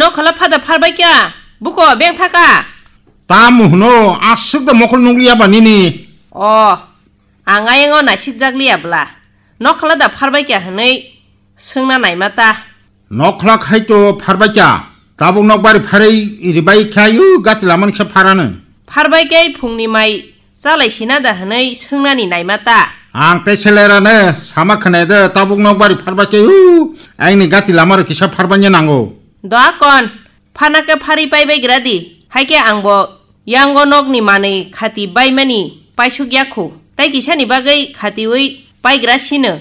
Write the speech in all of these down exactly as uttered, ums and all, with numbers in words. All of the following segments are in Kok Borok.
Nokhola phada pharbai kya? Buko beng thaka? Tamo hwno, aswk da mokol nukliya ba nini? O, ang ayang o naisik jak liya bla. Nokhola da pharbai kya hwnwi swngna naima ta. Nokhola khai to pharbai kya? Tabuk nokbari pharwi ribai khayu gati lamani khe pharano. Pharbai khe phungni mai chalai sina da hwnwi swngnani naima ta. Ang tei selerano sama khwnai de tabuk nokbari pharbai khayu aini gati lamaro kisa pharbanya nango. Doa kon, phana khe pharwi pai bai gra di. Hai khe ang bo yango nokni manwi khati baimani paisuk yakhu. Tai kisani bagwi khatiwi paigra sino.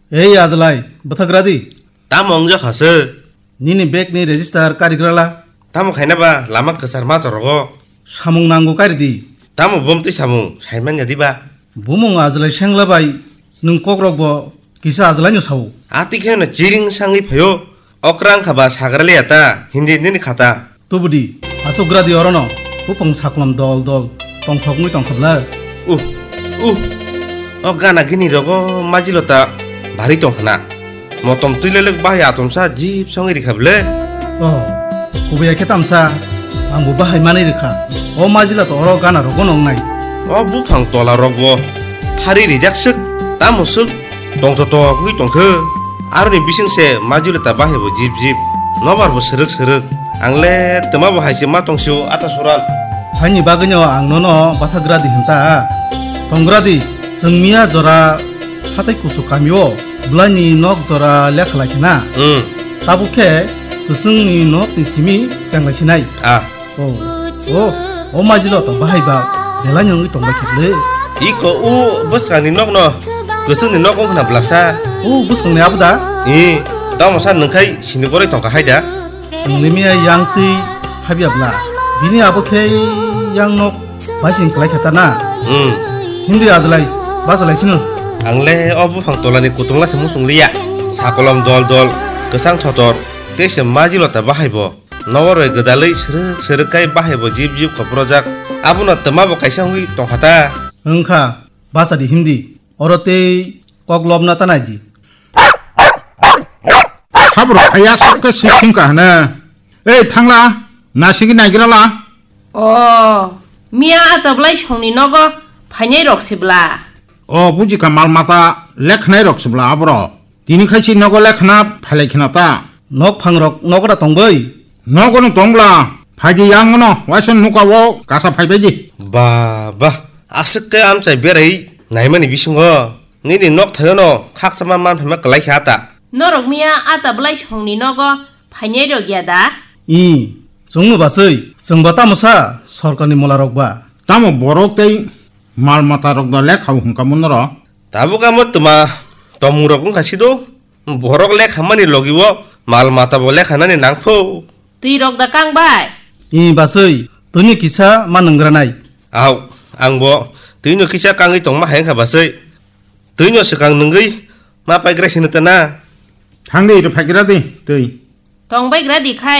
Ei Ajlai, bwthagra di. Tamo wngjakha se? Nini bag ni register karigrala. Tamo khaina ba lama kwchar ma chorogo? Samung nango kari di. Tamo bom twi samung, saimanya di ba? Bumung Ajlai sengla bai, nwng kokrok bo kisa Ajlai no sao. Ati khe no chiring sangwi phaio, okrang kha ba sagra liya ta, hindi nini khata. Tubudi, achukgra di orono, bupang saklom dol dol, tongthokmwi tongkha bla. Uh, uh, o gana gini rogo majilo ta bari tongkhna. Motom twi lelek bahai atomsa jip songwi rikha ble. Oh, kubui khe tamsa, angbo bahai manwi rikha. O majilo ta oro gana rogo nongnai. O buphang tola rokbo phari rijak swk, tamo swk. Tongthotok wngwi tongkhe. Aroni bising se majulita bahai bo jip jip. Nobar bo srwk srwk. Ang le twma bo hai se ma tongsio ata suran. Haini bagwino ang nono bathagra di hinta. Tongra di, chwng miya jora hatai kuchuk kamio bwlaini nok jora lekha lai khena. Hmm. Tabuk khe kwchwngni nokni simi chenglai sinai. Ah. Oh, oh, o majilo to bahai ba, belai nungwi tongbai khikle. Iko o bwskangni nokno, kwchwngni nok wng khna blasa. O bwskangni abo da? I, tamo sa nungkhai sini goroi tongkha hai da? Chwngni miya yang twi habya bla. Bini abo khe yang nok baising klai khe ta na. Hmm. Hindi Ajlai, basalai sino. Ang le o buphang tolani kutung la se musung liya. Sakolom dol dol, kwchang thotor, tei se majilo ta bahai bo. Nogo roi gwdalwi srwk srwk khai bahai bo jip jip khoprojak. Abono twma bo kaisa wngwi tongkha ta. Wngkha, basa di himdi. Oro tei kok lobna ta nai di. Habro phaiya sok khe sik thing ka hne. Ei thangla, nasigi naigra la. O, miya ata bwlai songni nogo phainai rok se bla. O, buji kha mal mata lekhnai rok se bla abro. Tini khai si nogo lekhna phailai khna ta. Nok phangrok nogo da tongbai? Nogo no tong bla. Phaidi yang no, waisa nuka o kasa phaibai di. Ba, ba, aswk khe amchai berai naimani bisingo nini nok thaio no khakchangma man phaima kwlai kha ta. Norok miya ata bwlai songni nogo phainai rok ya da? I, chwngno baswi, chwngba tamo sa sorkarni molarok ba? Tamo borok tei mal mata rok da lekha hwnkha munoro? Tabuk amo twma tomung rok wngkha sido. Borok lekha mani logi o mal mata bo lekha nani nangpho. Twi rok da kang bai? I baswi, twini kisa ma nwngra nai. Au, ang bo twino kisa kangwi tongma hai wngkha baswi. Twino swkang nwngwi ma paigra sino ta na. Thang di, rw phaigra di, twi. Tong bai gra di khai.